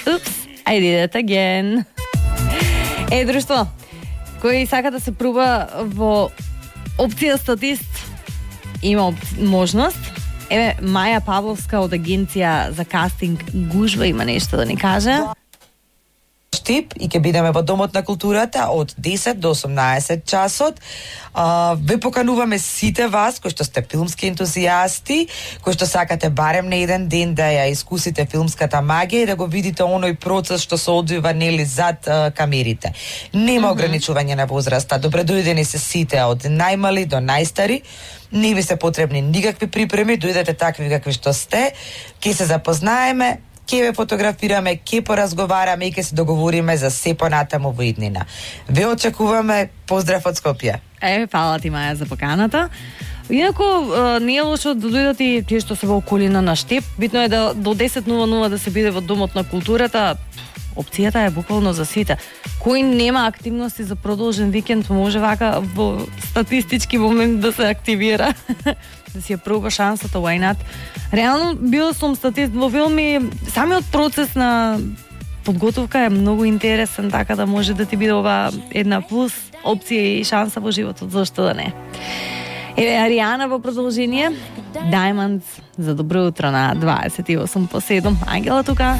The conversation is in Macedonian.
Oops, I did it again. Друштво, кој сака да се пруба во опција статист, има можност. Маја Павловска од агенција за кастинг Гужва има нешто да ни каже. Штип и ќе бидеме во Домот на културата од 10 до 18 часот. Ве покануваме сите вас кои што сте филмски ентузијасти, кои што сакате барем на еден ден да ја искусите филмската магија и да го видите оној процес што се одвива нели зад камерите. Нема ограничување на возраста. Добре дојдени се сите од најмали до најстари. Не ви се потребни никакви припреми, дојдете такви какви што сте, ќе се запознаеме, ќе ве фотографираме, ќе поразговараме и ќе се договориме за се понатаму во иднина. Ве очекуваме, поздрав од Скопје. Фала ти, Маја, за поканата. Инаку, не е лошо да дојдат и тие што се во околина на Штип. Битно е да до 10:00 да се биде во Домот на културата. Опцијата е буквално за сите. Кој нема активности за продолжен викенд, може вака во статистички момент да се активира. Да си ја проба шансата, why not? Реално, бил сум статист во филми, самиот процес на подготовка е многу интересен, така да може да ти биде ова една плюс опција и шанса во животот, зашто да не. Ариана во продолжение, Diamonds за добро утро на 28 по 7. Ангела тука.